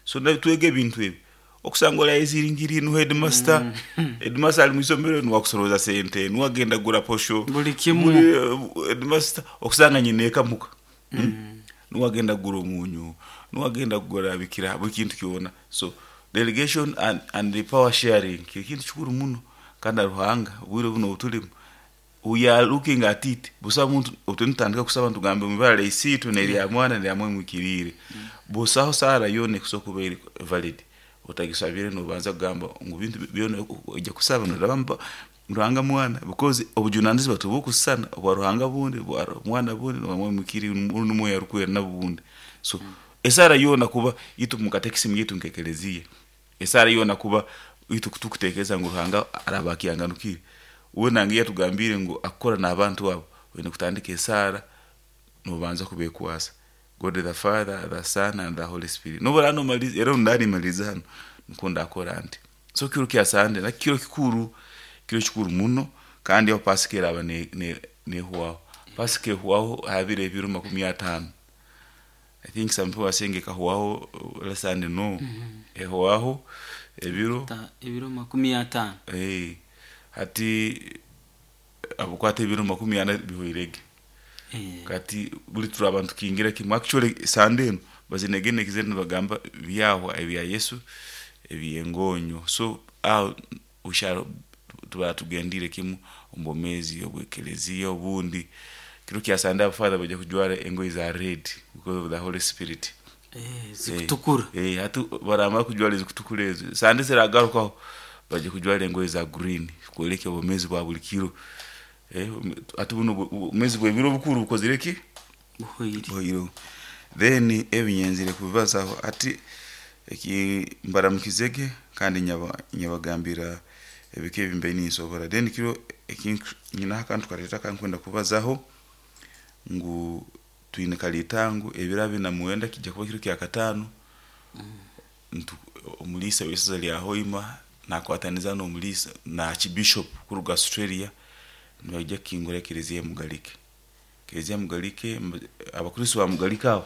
So twega ebintu ebi okusanga orayeziringiriire niwe headmaster, headmaster ari mwisomero niwe akusoroza sente, niwe agenda kugura posho, Buri kimwe. Headmaster okusanga nyina eka muka. Niwe agenda kugura omunyu, niwe agenda kugura bikira buri kintu kyona. So delegation and, and the power sharing kiri kintu kikuru muno kandi na Ruhanga obwire buno obuturimu we are looking at it busaho muntu otwe nitutandika kusaba nitugambe omu ibara rya Isiitwe n'erya Mwana n'erya Mwoyo Muhikiriire busaho saara yoona ekusobola kuba eri valid otagisabire nobanza kugamba ngu bintu byona oija kusaba noraba Ruhanga Mwana because obujunanizibwa tibukusisana obwa Ruhanga bundi obwa Mwana bundi n'obwa Mwoyo Muhikiriire rundi Mwoyo Arikwera nabwo bundi so esaara yoona kuba itwe omu katekisimu yaitu nk'ekelezia esaara yoona kuba itwe tukutekereza ngu Ruhanga araba akyanganukire we nange yatugambiire ngu akukora n'abantu abo oine kutandika esaara nobanza kubekwasa God the Father, the Son and the Holy Spirit nobu oraba nomaliza era obu ndaba nimaliza hanu nikwo ndakora nti. So kiro kya Sande nakyo kiro kikuru, kiro kikuru muno kandi aho pasika eraba nehwaho. Pasika ehwaho ha biro ebiro 50. I think some people are saying ekahwaho last Sunday no. Ehwaho ebiro Ebiro 50. Eh, hati abukwata ebiro 40 bihwairege. Kati buri turaba nitukingira kimwe actually Sande enu bazinegenekize nibagamba byahwa ebya Yesu ebyengonyo. So aho we shall tuba tugendire kimu omu bwomeezi obw'ekelezia obundi kiro kya Sande abafather baija kujwara engoye za red because of the Holy Spirit. Zikutukura. Hati baramara kujwara ezikutukura ezo Sande ziragarukaho baija kujwara engoye za green kwoleka obwomeezi bwa buri kiro. Hati bunu obwomeezi bw'ebiro bukuru bukozire ki? Buhwaire. Buhwaireho. Then ebi nyenzire kubibazaho hati eki mbaramukizege kandi nyabagambira ebika ebi mbaire ninsobora. Then kiro eki nyinaho akantu kareeta akankwenda kubazaho ngu twine karitango ebiro 29 kijja kuba kiro kya kataano omuliisa w'isaza lya Hoima nakwataniza n'omuliisa na Archbishop kuruga Australia nibaija kukingura ekelezia ya Mugalike. Ekelezia ya Mugalike abakristo ba Mugalike abo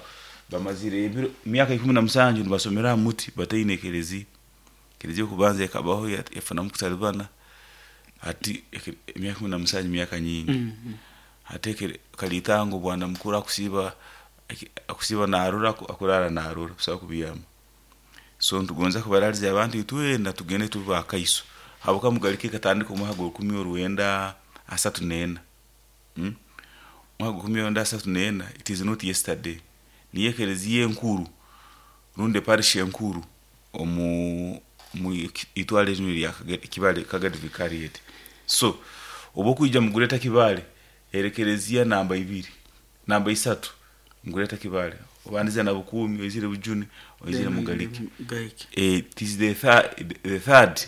bamazire ebiro emyaka 17 nibasomera aha muti bataine ekelezia. Ekelezia y'okubanza ekabaho yafunamu kutaribana hati emyaka 17 myaka nyingi. Hati karitango bwana mukuru akusiiba narora akurara narora busaho kubyama. So nitugonza kubaraliza abantu itwena tugende tube bakaiso habwokuba Mugalike ekatandika omwaka gwa 1934. Omwaka gwa 1934 it is not yesterday. Niyo ekelezia enkuru rundi eparish enkuru omu itwale rinu erya Kibale Kagadi Vicariate. So obu okwija mu Greater Kibale eri ekelezia namba ibiri, namba isatu mu Greater Kibale obandize na Bukuumi oizire Bujuni oizire Mugalike. It is the third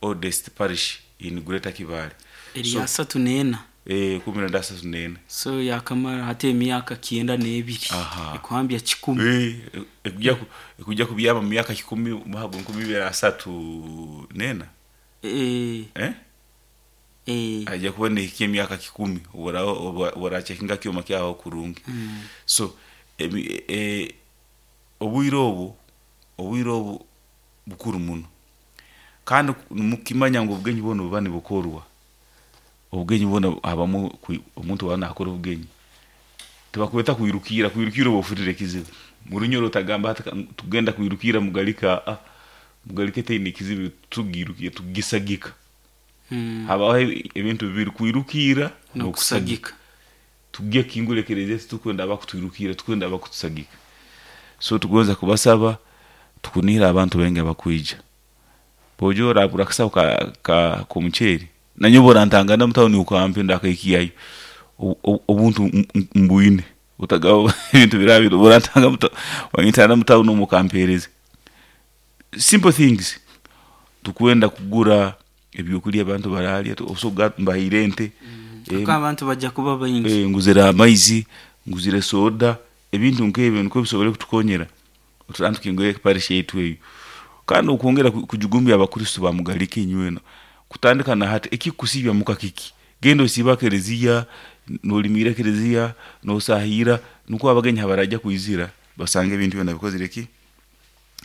oldest parish in Greater Kibale. Eri 34. 1934. So yakamara hati emyaka 92. Ekuhambya 1,000. Ekujya kubyama mu myaka 1,000 omwaka gwa 2034. Ajja kuba nehikya emyaka 1,000 obu orachekinga kyoma kyaho kurungi. So obwire obu bukuru muno kandi mukimanya ngu obugenyi bwona buba nibukorwa obugenyi bwona habamu omuntu aba nakora obugenyi tibakweta kwirukira kwirukira oba ofurire ekizibu murunyoro otagamba hati tugenda kwirukira Mugalika Mugalike teine ekizibu tugirukire tugisagika. Habaho ebintu bibiri kwirukira n'okusagika. Tugye kingura ekelezia titukwenda abakutwirukira tukwenda abakutusagika. So tugonza kubasaba tukunihira abantu baingi abakwija. Bojo oragura akasaho ka k'omuceeri nanyowe orantangana mutawuni okampa ndakaikiyayo obuntu mbwine otagaba ebintu biraba orantanga wanyitana mutawuni omu okampereza. Simple things tukwenda kugura ebyokurya abantu bararya osoga mbahaire ente. Abantu bajja kuba baingi. Nguzire amaizi, nguzire soda, ebintu nk'ebyo nikwo bisobole kutukonyera oturantu tukingure parish yaitu eyo. Kandi okwongera kujugumbya abakristo ba Mugalike inywena kutandika na hati ekikusiibya muka kiki genda osiibe ekelezia nolimira ekelezia nosahira nukwo abagenyi habarajya kwizira basanga ebintu byona bikozire ki.